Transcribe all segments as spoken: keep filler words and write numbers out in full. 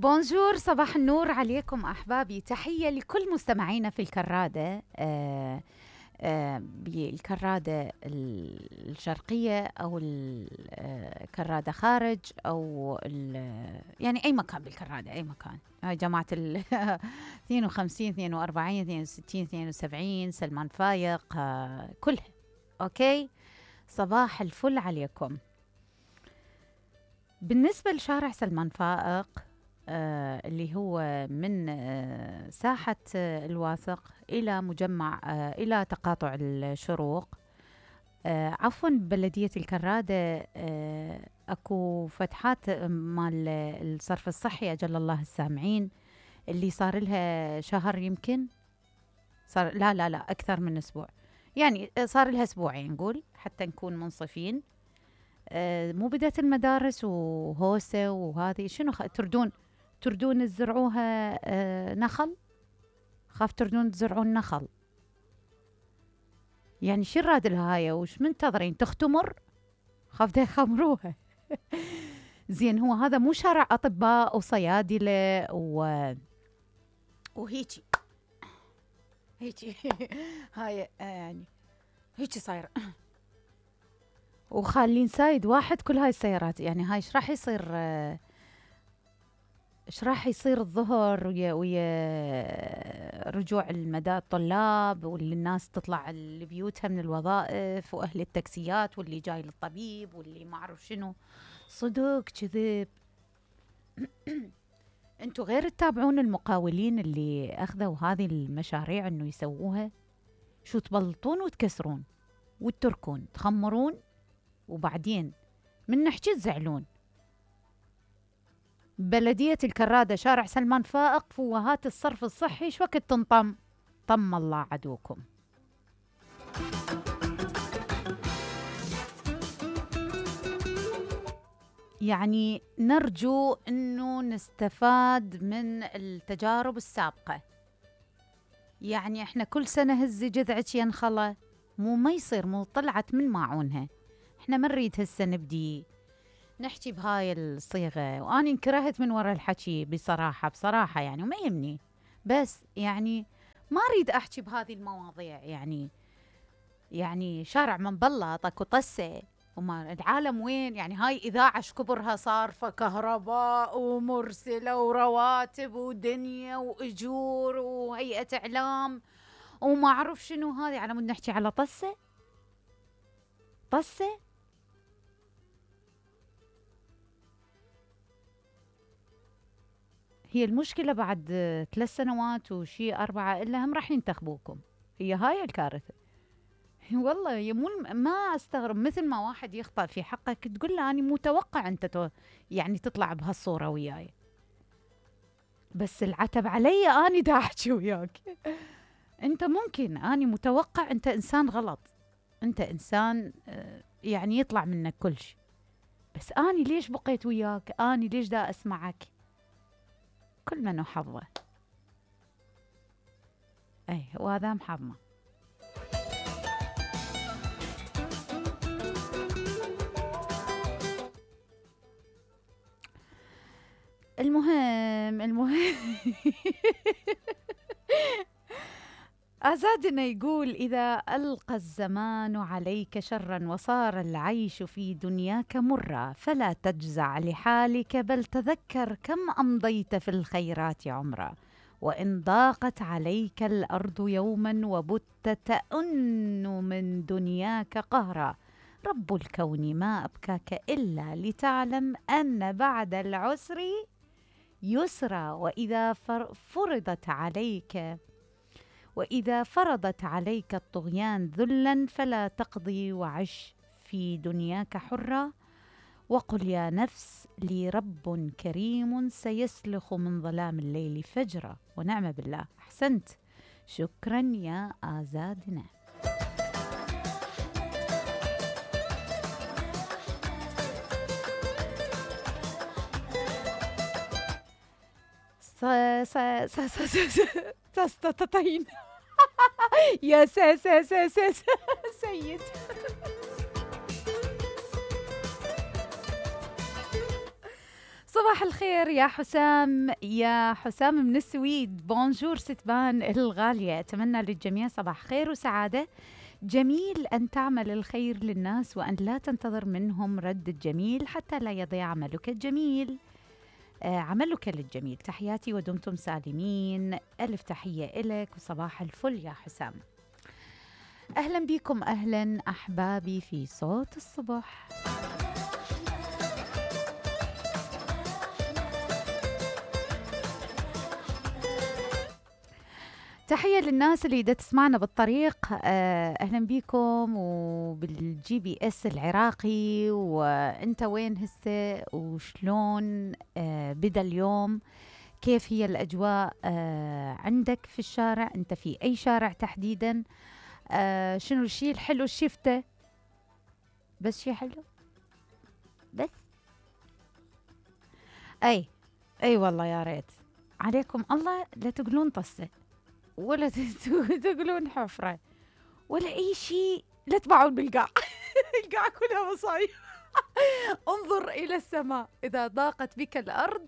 بونجور، صباح النور عليكم أحبابي. تحية لكل مستمعينا في الكرادة، آه آه بالكرادة الشرقية أو الكرادة خارج أو يعني أي مكان بالكرادة، أي مكان. هاي جماعة ال اثنين وخمسين اثنين وأربعين اثنين وستين اثنين وسبعين سلمان فايق، آه كلها أوكي. صباح الفل عليكم. بالنسبة لشارع سلمان فائق، آه اللي هو من آه ساحة آه الواثق إلى مجمع آه إلى تقاطع الشروق، آه عفوا بلدية الكرادة، آه أكو فتحات مال الصرف الصحي أجل الله السامعين، اللي صار لها شهر يمكن، صار لا لا لا أكثر من أسبوع، يعني صار لها أسبوعين نقول حتى نكون منصفين. آه مو بدأت المدارس وهوسة وهذه شنو خ... تردون تردون تزرعوها آه نخل، خاف تردون تزرعون نخل، يعني شو الراد لها هاي؟ وش منتظرين تختمر؟ خاف ده يخمروها. زين، هو هذا مو شارع أطباء وصيادلة و وهيجي هيجي هاي يعني هيجي صاير وخالين سايد واحد كل هاي السيارات. يعني هاي ايش راح يصير؟ ايش راح يصير الظهر ويا ويا رجوع المدى الطلاب واللي الناس تطلع لبيوتها من الوظائف واهل التاكسيات واللي جاي للطبيب واللي ما اعرف شنو. صدق كذب. انتوا غير تتابعون المقاولين اللي اخذوا هذه المشاريع انه يسووها، شو تبلطون وتكسرون وتتركون تخمرون، وبعدين من نحكي تزعلون. بلدية الكرادة شارع سلمان فائق فوهات الصرف الصحي شو وقت تنطم؟ طم الله عدوكم. يعني نرجو انه نستفاد من التجارب السابقة. يعني احنا كل سنة هزي جذعك ينخلى، مو ما يصير، مو طلعت من ماعونها. احنا ما نريد هسه نبدي نحكي بهاي الصيغة، وأنا انكرهت من وراء الحكي بصراحة بصراحة يعني، وما يهمني، بس يعني ما أريد أحكي بهذه المواضيع. يعني يعني شارع من بلط أكو طسة وما العالم وين؟ يعني هاي إذاعة شكبرها صارفة كهرباء ومرسلة ورواتب ودنيا وأجور وهيئة إعلام وما أعرف شنو، هذه على مود نحكي على طسة طسة. هي المشكلة بعد ثلاث سنوات وشي أربعة إلا هم راح ينتخبوكم، هي هاي الكارثة. والله يمون ما أستغرب مثل ما واحد يخطأ في حقك تقول له أنا متوقع أنت تو يعني تطلع بهالصورة وياي، بس العتب علي أنا دا أحكي وياك. أنت ممكن أنا متوقع أنت إنسان غلط، أنت إنسان يعني يطلع منك كل شيء، بس أنا ليش بقيت وياك؟ أنا ليش دا أسمعك؟ كل من وحظه. أي وهذا محظنا. المهم المهم أزادنا يقول: إذا ألقى الزمان عليك شرا وصار العيش في دنياك مرا فلا تجزع لحالك، بل تذكر كم أمضيت في الخيرات عمرا، وإن ضاقت عليك الأرض يوما وبت تأن من دنياك قهرا، رب الكون ما أبكاك إلا لتعلم أن بعد العسر يسرا، وإذا فرضت عليك وإذا فرضت عليك الطغيان ذلا فلا تقضي وعش في دنياك حرا، وقل يا نفس لي رب كريم سيسلخ من ظلام الليل فجرا. ونعم بالله. أحسنت، شكرا يا آزادنا. تستطيعين يا سيد. صباح صباح الخير يا حسام، يا حسام من السويد. بونجور ستبان الغالية، أتمنى للجميع صباح خير وسعادة. جميل أن تعمل الخير للناس وأن لا تنتظر منهم رد الجميل حتى لا يضيع عملك الجميل. آه عملك للجميل. تحياتي ودمتم سالمين. ألف تحية إلك وصباح الفل يا حسام. أهلا بكم، أهلا أحبابي في صوت الصبح. تحية للناس اللي دا تسمعنا بالطريق، أهلا بيكم، وبالجي بي اس العراقي، وانت وين هسه وشلون بدأ اليوم، كيف هي الأجواء عندك في الشارع، انت في أي شارع تحديدا، شنو الشيء الحلو شفته؟ بس شيء حلو بس أي أي والله يا ريت عليكم الله لا تقولون طسة ولا تقولون حفرة ولا أي شيء، لا تباعون بالقاع. القاع كلها مصايب. انظر إلى السماء، إذا ضاقت بك الأرض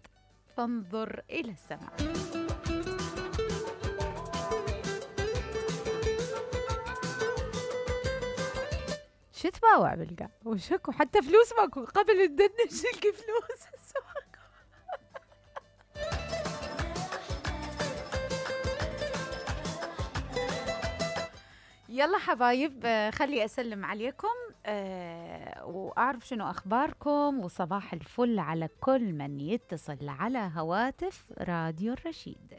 فانظر إلى السماء. شو تباوع بالقاع وشكو، حتى فلوس ماكو، قبل الدنش تلقي فلوس. يلا حبايب، خلي أسلم عليكم أه وأعرف شنو أخباركم، وصباح الفل على كل من يتصل على هواتف راديو الرشيد.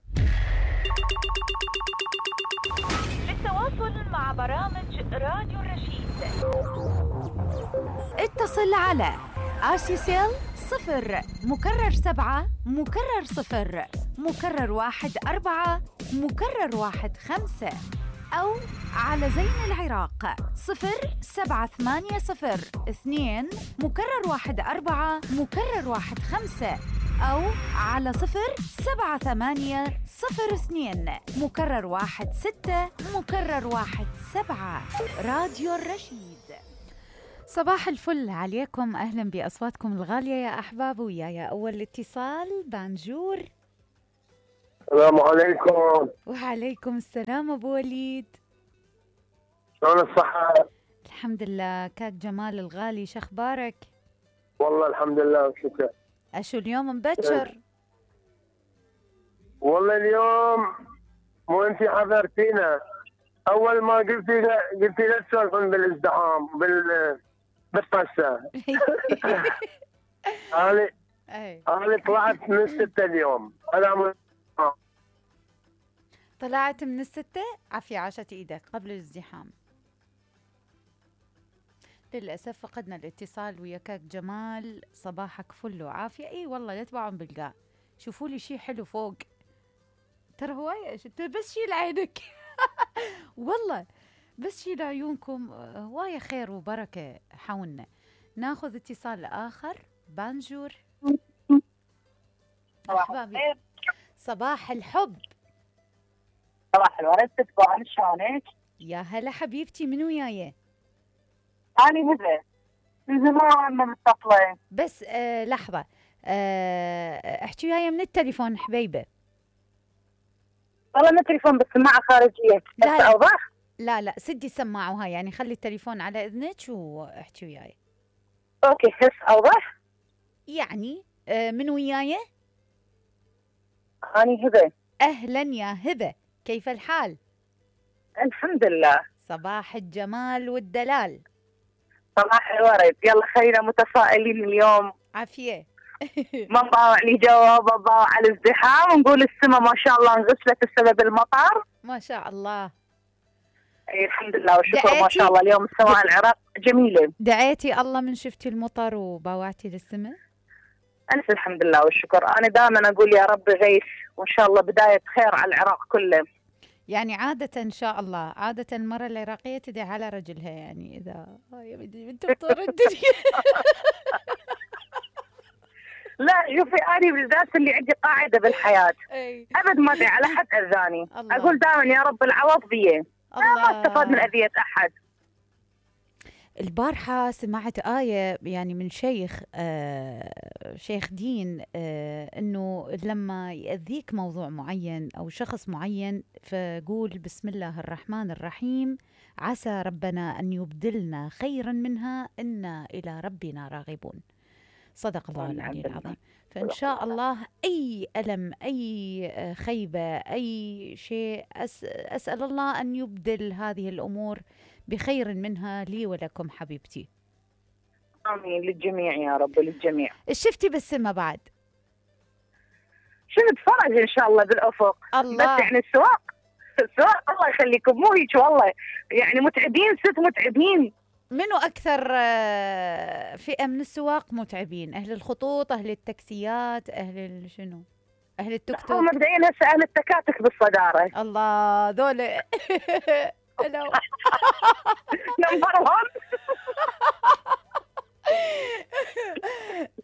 للتواصل مع برامج راديو الرشيد اتصل على آرسيسيل صفر مكرر سبعة مكرر صفر مكرر واحد أربعة مكرر واحد خمسة، أو على زين العراق صفر سبعة ثمانية صفر اثنين مكرر واحد أربعة مكرر واحد خمسة، أو على صفر سبعة ثمانية صفر اثنين مكرر واحد ستة مكرر واحد سبعة. راديو الرشيد. صباح الفل عليكم، أهلا بأصواتكم الغالية يا أحباب. ويايا أول اتصال بانجور. السلام عليكم. وعليكم السلام أبو وليد، شلون الصحة؟ الحمد لله. كاك جمال الغالي شخبارك؟ والله الحمد لله وشكرا. أشو اليوم مبكر؟ والله اليوم مو انتي حضرتينا، أول ما قلتي قلتي لا تسولفون بالازدحام بال بالطسة. أنا أنا طلعت من الستة اليوم. أنا طلعت من الستة. عافية عاشت إيدك قبل الازدحام. للأسف فقدنا الاتصال ويا كاك جمال. صباحك فل وعافية. اي والله لا تباعون بالقاع، شوفوا لي شيء حلو فوق، ترى هواية بس شيل عينك. والله بس شيل عيونكم، هواية خير وبركة حولنا. ناخذ اتصال آخر. بانجور. أحبابي صباح الحب. صباح الورد. تتبعون شلونك؟ يا هلا حبيبتي، من وياي؟ أنا هبة، من زمان ما متصلة. بس آه لحظة، آه احكي وياي من التليفون حبيبة. والله من التليفون بالسماعة خارجية. لا لا. أوضح؟ لا لا سدي سماعوها، يعني خلي التليفون على إذنك واحكي وياي. أوكي هس أوضح؟ يعني آه من وياي؟ أنا هبة. أهلا يا هبة، كيف الحال؟ الحمد لله. صباح الجمال والدلال. صباح الورد. يلا خلينا متفائلين اليوم. عافية. ما نضاوع لي جواب، نضاوع على الازدحام ونقول السماء ما شاء الله انغسلت بسبب المطر. ما شاء الله. اي الحمد لله والشكر. ما شاء الله اليوم السماء العراق جميلة. دعيتي الله من شفتي المطر وباوعتي للسماء؟ ألف الحمد لله والشكر. أنا دائما أقول يا رب غيث، وإن شاء الله بداية خير على العراق كله. يعني عادة إن شاء الله، عادة المرة العراقية تدعي على رجلها، يعني إذا يا بدي أنت بطور الدنيا. لا شوفي، أنا بالذات اللي عندي قاعدة بالحياة، أبد ما أدعي على حد أذاني. أقول دائما يا رب العوض بيه، ما استفاد من أذية أحد. البارحة سمعت آية يعني من شيخ آه شيخ دين آه إنه لما يأذيك موضوع معين أو شخص معين فقول بسم الله الرحمن الرحيم عسى ربنا أن يبدلنا خيرا منها إنا إلى ربنا راغبون. صدق الله العلي العظيم. فإن شاء الله أي ألم أي خيبة أي شيء أس أسأل الله أن يبدل هذه الأمور بخير منها لي ولكم حبيبتي. آمين للجميع يا رب للجميع. شفتي بالسمة بعد؟ شفت فرج إن شاء الله بالأفق. الله. بس يعني السواق السواق الله يخليكم مو هيك والله يعني متعبين ست متعبين. منو أكثر فئة من السواق متعبين؟ أهل الخطوط أهل التاكسيات أهل شنو؟ أهل التوك توك؟ مبدئيا هسه أهل التكاتك بالصدارة. الله ذول نمبر واحد.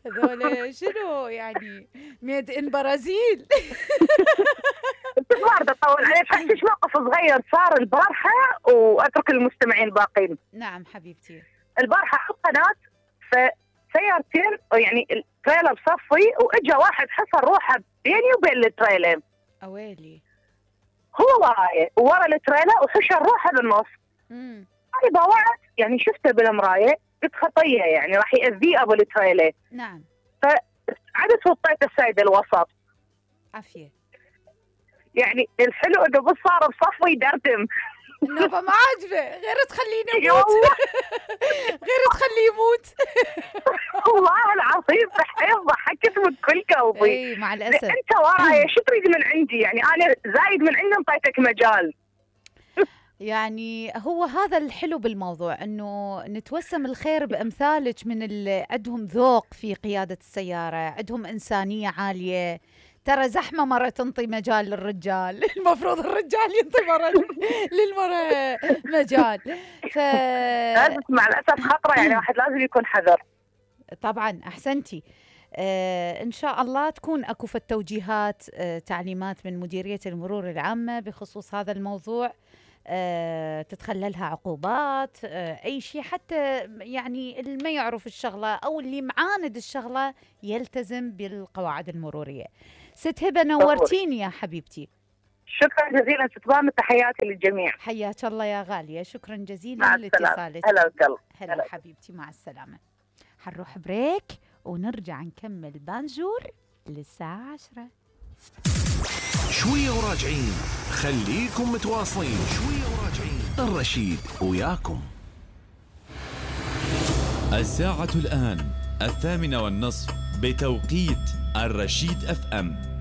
هذول شنو يعني ميد ان برازيل. ما بدي اطول عليك حكيش موقف صغير صار البارحه واترك المستمعين الباقين. نعم حبيبتي. البارحه على القناه فسيارتين يعني التريلر بصفي واجا واحد حصر روحه بيني وبين التريلر. اويلي. هو وراي ورا التريلر وحشر روحه بالنص. امم انا ضوعت يعني شفته بالمرايه قلت خطيه يعني راح يأذيه ابو التريلر. نعم. فعدت وطيت السيده الوسط. عافيه. يعني الحلو انه بس صار بصفه يدردم. النوبه ما عاجبه غير تخليه يموت. غير تخليه يموت. والله العظيم صحيح ضحكت من كل قلبي. اي مع الاسف. انت وراي شو تريد من عندي يعني انا زايد من عندي انطيتك مجال. يعني هو هذا الحلو بالموضوع انه نتوسم الخير بامثالك من اللي عندهم ذوق في قياده السياره، عندهم انسانيه عاليه. ترى زحمه مره تنطي مجال للرجال، المفروض الرجال ينطي مره للمره مجال. ف لازم مع الاسف خطره يعني واحد لازم يكون حذر. طبعا احسنتي. آه إن شاء الله تكون أكو في التوجيهات آه تعليمات من مديرية المرور العامة بخصوص هذا الموضوع. آه تتخللها عقوبات آه أي شيء حتى يعني اللي ما يعرف الشغلة أو اللي معاند الشغلة يلتزم بالقواعد المرورية. ست هبة نورتيني يا حبيبتي. شكرا جزيلا ست بام تحياتي للجميع. حياك الله يا غالية شكرا جزيلا لاتصالك. هلا وسهلا. هلا حبيبتي مع السلامة. حنروح بريك ونرجع نكمل بانجور للساعة عشرة. شوية وراجعين خليكم متواصلين. شوية وراجعين الرشيد وياكم. الساعة الآن الثامنة والنصف بتوقيت الرشيد اف ام.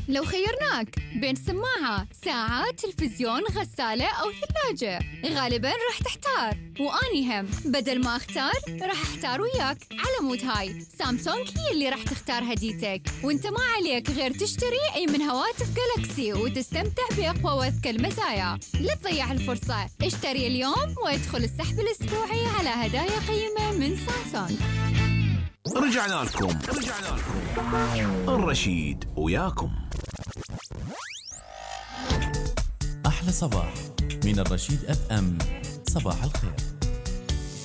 لو خيرناك بين سماعة، ساعة، تلفزيون، غسالة أو ثلاجة غالباً راح تحتار، وأني هم بدل ما أختار راح أحتار وياك. على مود هاي سامسونج هي اللي راح تختار هديتك، وانت ما عليك غير تشتري أي من هواتف جالكسي وتستمتع بأقوى وأذكى المزايا. لا تضيع الفرصة، اشتري اليوم وادخل السحب الأسبوعي على هدايا قيمة من سامسونج. رجعنا لكم رجعنا لكم الرشيد وياكم. أحلى صباح من الرشيد اف ام. صباح الخير.